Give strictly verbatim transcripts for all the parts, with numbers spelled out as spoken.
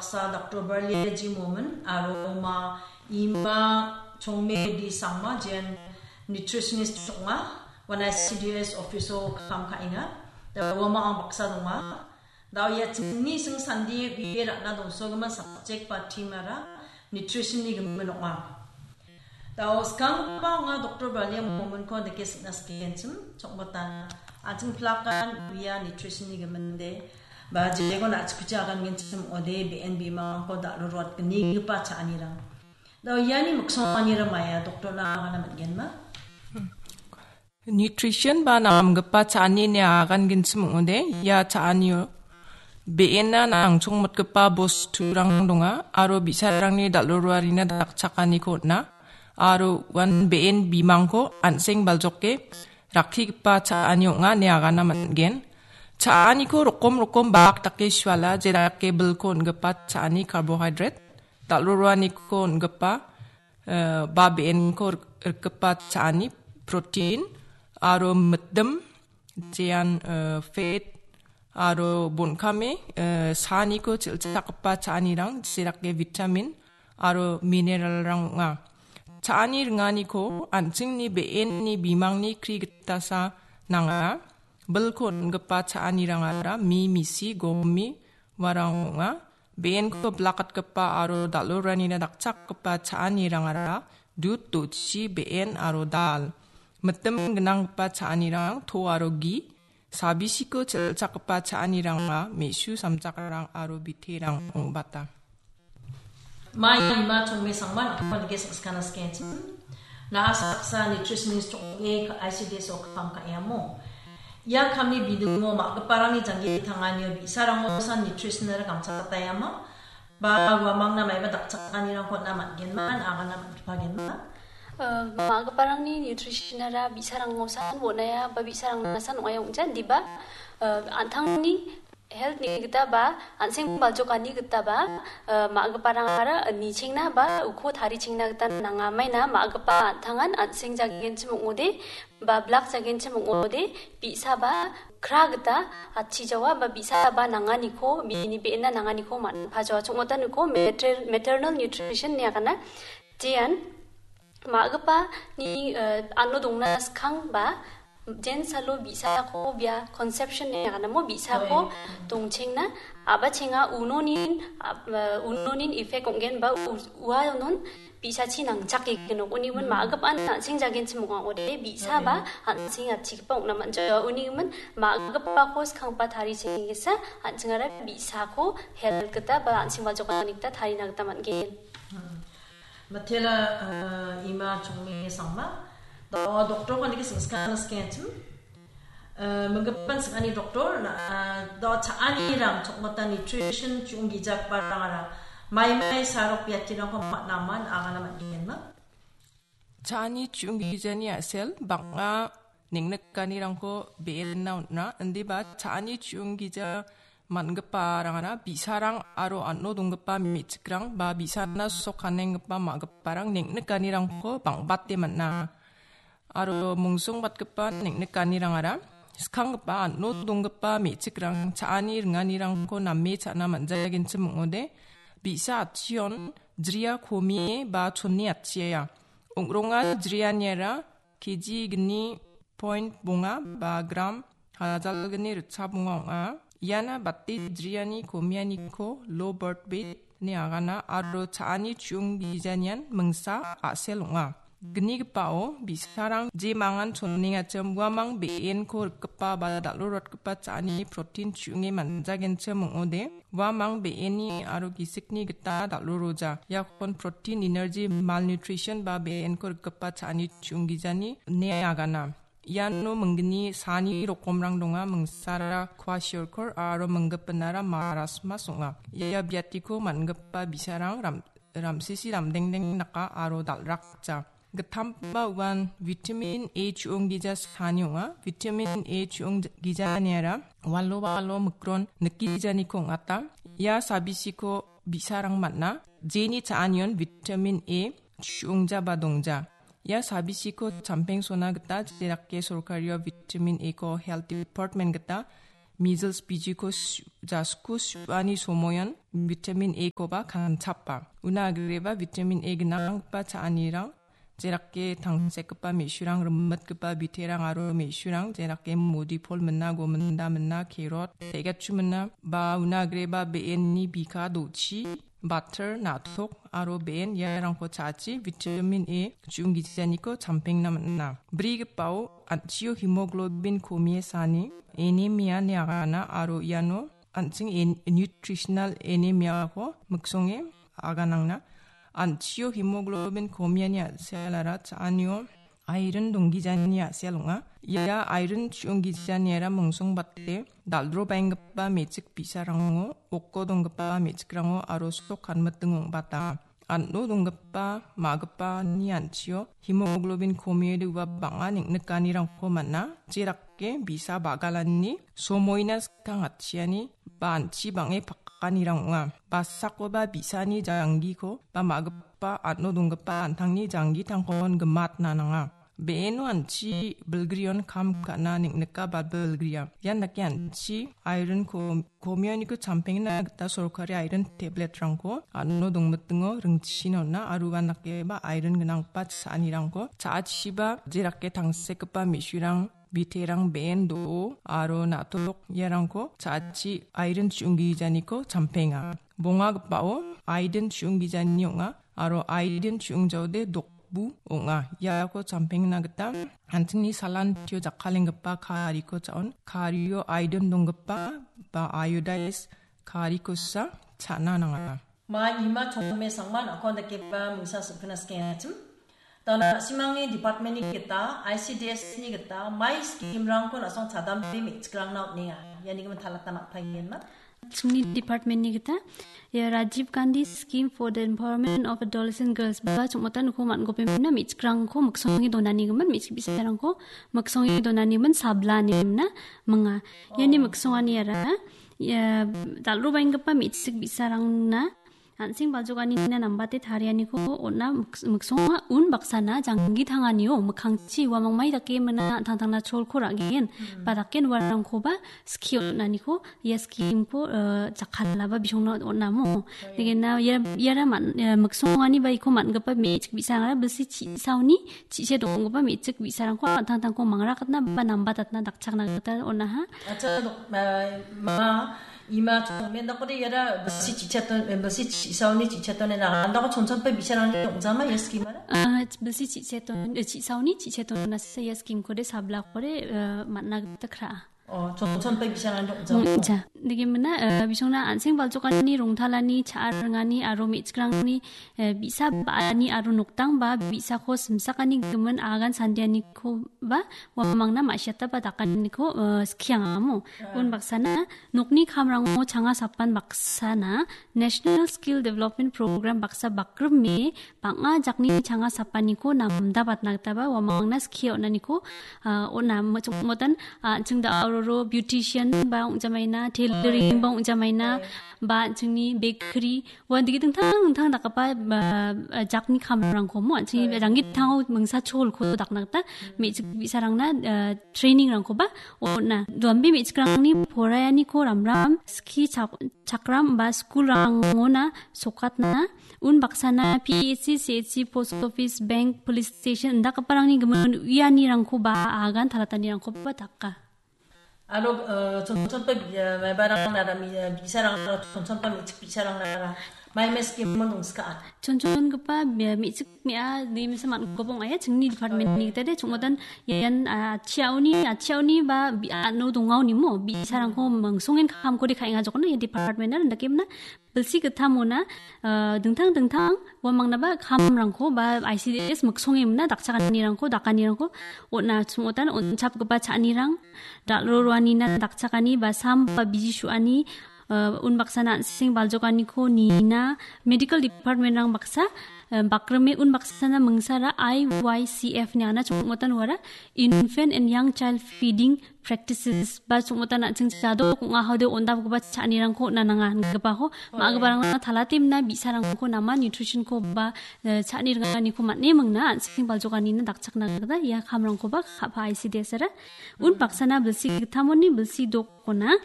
baksa Doktor Barliaji Momin aro ma Ima Chongme D Sangma, jean nutritionist ong·a, uan I C D S office-o kam ka·enga. Da uamang baksa donga. Da ia chingni sing sandi bie ra·na dongsogimin subject ba theme-ara nutrition-ni gimin ong·a. Da skanggipa ong·a Doktor Barlia Mominko dake sikna sikenchim, chokmota. An·ching plakan uia nutrition-ni giminde, ba jeko na·chikuchi agangenchim ong·ode, B N B mangko dal·o rot gnigipa cha·anirang. Da iani miksonganira maia doktorna agana man·genma? Nutrition ba namgipa cha·ani ine agangenchim ong·ode, ia cha·anio be·ena nangchongmotgipa bosturang donga, aro bi·sarangni dal·o roarina dakchakaniko on·a, aro uan be·en bimangko an·seng baljoke rakkigipa cha·ani ong·a ine agana man·gen. Cha·aniko rokom rokom bak dake suala, jedake bilko on·gipa cha·ani carbohydrate, dal·o roaniko on·gipa, eh, ba be·enko rik-, rikgipa cha·ani protein, aro mitdim, jean, eh, fat, aro bon·kame, eh, saaniko chilchakgipa cha·anirang, jedake vitamin, aro mineralrang ong·a. Cha·ani ringaniko an·chingni be·enni bimangni kri gitasa nanga. Bilko on·gipa cha·anirangara mi, misi, gomi, uarang ong·a. Be·enko bilakatgipa aro dal·o roanina dakchakgipa cha·anirangara dud, dochi, be·en aro dal. Mitdim gnanggipa cha·anirang to aro gi, sabisiko chilchakgipa cha·aniranga me·su samjakrang aro biterang ong·bata. Mai Ima Chongme Sangma, nakpal ge sakskana skenchim. Na·a saksa nutritionist ong·e I C D S o kam ka·iamo. Ia kamni bidingo ma·giparangni janggi tanganio bi·sarango san nutritional gamchakatayama. Ba uamangna maiba dakchakanirangko on·a man·genma, agana man·gipagenma. Eh, ma·giparangni nutritionara bi·sarango san on·aia, ba bi·sarangna san ong·aia ong·ja, indiba, eh, an·tangni health-ni gita ba, an·seng baljokani gita ba, eh, ma·giparangara nichengna ba uko tarichengna gita nanga. Maina ma·gipa an·tangan an·seng jagenchim ong·ode, ba blak jagenchim ong·ode, bi·sa ba kra gita atchijawa ba bi·sa ba nanganiko, bini be·ena nanganiko man·pajawa. Chongmota niko mater-, maternal nutrition ine agana. Jean ma·gipani, eh, ano dongna skang ba, jen salo bi·sako bia conception ine agana mo, bi·sako Oi. Dongchengna, a·bachenga unonin, a-, eh, unonin effect ong·gen ba u-, uanon bi·sachi nangchake gnok. Unigimin ma·gipan an·seng jagenchim ong·a ong·ode, bi·sa ba an·seng atchigipa ong·na man·jawa. Unigimin ma·gipako skanggipa tarichengengesa an·chingara bi·sako health gita ba an·seng baljokani gita tarina gita man·gen. Hmm. Matela, eh, Ima Chongme Sangma. Do-, doktor kondiki singskana skenchim. Eh, minggipan sing·ani doktor, na, eh, do cha·anirang chokmota nutrition chu·ong gijakbarangara maimai sarok biatirangko man·aman agana man·genma? Cha·ani chu·ong gijani a·sel bang·a neng·nikanirangko be·enna on·a, indiba cha·ani chu·ong gija man·giparangara bi·sarang aro an·o donggipa me·chikrang ba bi·sana sok kanenggipa ma·giparang neng·nikanirangko bang·bate man·a. Aro mungsongbatgipa neng·nikanirangara skanggipa an·o donggipa me·chikrang cha·ani ringanirangko name cha·na man·jagenchim ong·ode, bi·sa atchion jria komie ba chonne atchiaia. Ong·ronga jrianiara K G gni point bonga ba gram hajalgni ritchap ong·a ong·a. Iana bate jriani komianiko low birth weight ine agana aro cha·ani chu·ong gijanian mingsa a·sel ong·a. Gnigipao bi·sarang je mangan chonengachim uamang be·enko rikgipa ba dal·o rotgipa cha·ani protein chu·onge man·jagenchim ong·ode, uamang be·eni aro gisikni gita dal·o roja. Iakon protein, energy, malnutrition ba be·enko rikgipa cha·ani chu·ong gijani ine agana. Iano minggni sani rokomrang donga, mingsara kwashiorkor aro minggipinara marasmas ong·a. Ia biatiko man·gipa bi·sarang ram-, ramsisi ramdengdeng daka aro dal·rakja. Gittamba uan vitamin A chu·ong gija sani ong·a. Vitamin A chu·ong gijaniara walo walo mikron nikijaniko ong·ata. Ia sabisiko bi·sarang man·a. Jeni cha·anion vitamin A chu·ongja ba dongja. Ia sabisiko champengsona gita jedake sorkario vitamin A ko health department gita measles bijiko su-, jasku su·ani somoion vitamin A-koba kanchapa. Una agreba vitamin A gnanggipa cha·anirang, jerake tangsekgipa me·surang, rimitgipa biterang aro me·surang, jerake modipol mina, gominda mina, kerot, tegatchu mina, ba una agreba be·enni bika dochi, batter, na·tok aro be·en iarangko cha·achi vitamin A chu·onggijaniko champengna man·a. Brigipao an·chio hemoglobin komie sani, anemia ine agana aro iano an·ching en-, nutritional anemiako miksonge aganangna. An·chio hemoglobin komiani a·sealara cha·anio iron donggijani a·sel ong·a. Ia iron chu·onggijaniara mingsongbate dal·drobaenggipa me·chik bi·sarango, oko donggipa me·chikrango aro sok kanmiting ong·bata. An·o donggipa, ma·gipani an·chio hemoglobin komiode ua bang·a neng·nikanirangko man·a. Jerake bi·sa ba·galanni somoina skang atchiani ba an·chi bang·e pakanirang ong·a. Basakoba bi·sani janggiko ba ma·gipa an·o donggipa an·tangni janggitangkon gimatna nanga. Be·eno an·chi bilgrion kam ka·na neng·nika ba bilgria. Ian dake an·chi ironko komianiko champengna gita sorkari iron tabletrangko an·o dongmitingo ringchina on·a aro uan dakeba iron gnanggipa cha·anirangko cha·achiba jerake tangsekgipa me·surang, biterang, be·en, do·o aro na·tok iarangko cha·achi iron chu·onggijaniko champenga. Bongagipao iron chu·onggijani ong·a aro iron chu·ongjaode dokbu ong·a. Iako champengna gita an·chingni salantio jakkalenggipa kariko cha·on. Kario iron donggipa ba iodized karikosa cha·na nanga. Ma ima chongme sangma nakon dakeba mungsa sokna skengachim. Dona simangni departmentni gita, I C D S ni gita, mai scheme-rangko nasong chadambe me·chikrangna on·enga. Iani gimin talatna nangpaengenma. Chingni departmentni gita, ia Rajiv Gandhi Scheme for the Empowerment of Adolescent Girls ba chongmota noko man·gopemna me·chikrangko miksonge donani gimin, me·chik bi·sarangko miksonge donani gimin sabla ine mingna minga. Iani miksongani ara, ia dal·robaenggipa me·chik bi·sarangna an·seng baljokanina nambate tarianiko on·a miks-, miksonga un baksana janggi tanganio mikkangchi uamangmai dake mina an·tangtangna cholko ra·gen. Ba daken uarangkoba skie on·aniko ia scheme-ko, eh, jakkalaba bisongna on·amo. Degena ia, iara man-, eh, miksongani ba iko man·gipa me·chik bi·sarangara bilsi chi·saoni chi·se donggipa me·chik bi·sarangko an·tangtangko mangrakatna ba nambatatna dakchakna gita on·aha. Acha, dok-, ma, ma, ima chongmen dakode iara bilsi chi·chaton, eh, bilsi chi·saoni chi·chaton ena andako chonchonpe bi·sarangni ong·jama ia scheme-ara? Ah, bilsi chi·chaton, eh, chi·saoni chi·chaton nasa ia scheme-kode sablakode, eh, man·na gita kra·a. Oh, chonchonpe bi·sarangni ong·jama. Mm, ja. Degimina, eh, bisongna an·seng baljokanini rongtalani cha·a ringani aro me·chikrangni eh, bi·sa ba·ani aro noktangba bi·sako simsakani gimin agan sandianikoba uamangna ma·siataba dakaniko, eh, skiangamo. Unbaksana nokni kamrango changa sapan baksana National Skill Development Program baksa bakrime bang·a jakni changa sapaniko namdabatna gitaba uamangna skie on·aniko, ah, on·a. Mo-, chong-, motan, ah, chingda auroro beautician ba ong·jamaina, tailoring ba ong·jamaina, ba chingni bakery, ua dingtang dingtang dakgipa, ba, jakni kamrangko mo, an·chingni janggitango mingsa cholko dakna gita me·chik bi·sarangna, eh, training-rangkoba on·a. Duambe me·chikrangni poraianiko ramram skie chak-, chakram ba school-rangona sokatna, unbaksana P H C, C H C, post office, bank, police station indakgiparangni gimin uianirangkoba agan talatanirangkoba daka. Aro, eh, chonchonpa bi-, eh, mebarang nara mi-, eh, bi·sarang nara, chonchonpa me·chik bi·sarang nara, mai mes ke mon dongska. Chonchongipa me-, me·chik me·a, de mesa man·gipa ong·aia, chingni department-ni gita de, chongotan ian, ah, chiaoni, ah, chiaoni ba bi-, ah, no dongaoni mo, bi·sarangko mingsongen kamkode ka·enga jokna, ia department-ara, indakemna, bilsi gittamona, eh, dingtang dingtang uamangnaba kamrangko ba I C D S miksonge mingna dakchakanirangko, dakanirangko on·a, chongotan on·chapgipa cha·anirang, dal·ro roanina dakchakani ba sam ba biji su·ani, Uh, unbaksana an·seng baljokaniko nina medical department-rang baksa, uh, bakrime unbaksana mingsara I Y C F ni ana chongmotan wara infant and young child feeding practices ba chongmotan an·seng jadok ong·a hode ondapgipa cha·anirangko on·a nanga ingipako ma·giparangna talatemna bi·sarangko nama nutrition-ko ba, uh, cha·ni ringaniko man·e mingna an·seng baljokanina dakchakna gita ia kamrangkoba ka·pa I C D S ara. Unbaksana bilsi gittamoni bilsi dokona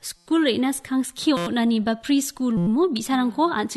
skul re·na skang skie on·ani ba preschool mo bi·sarangko an·ching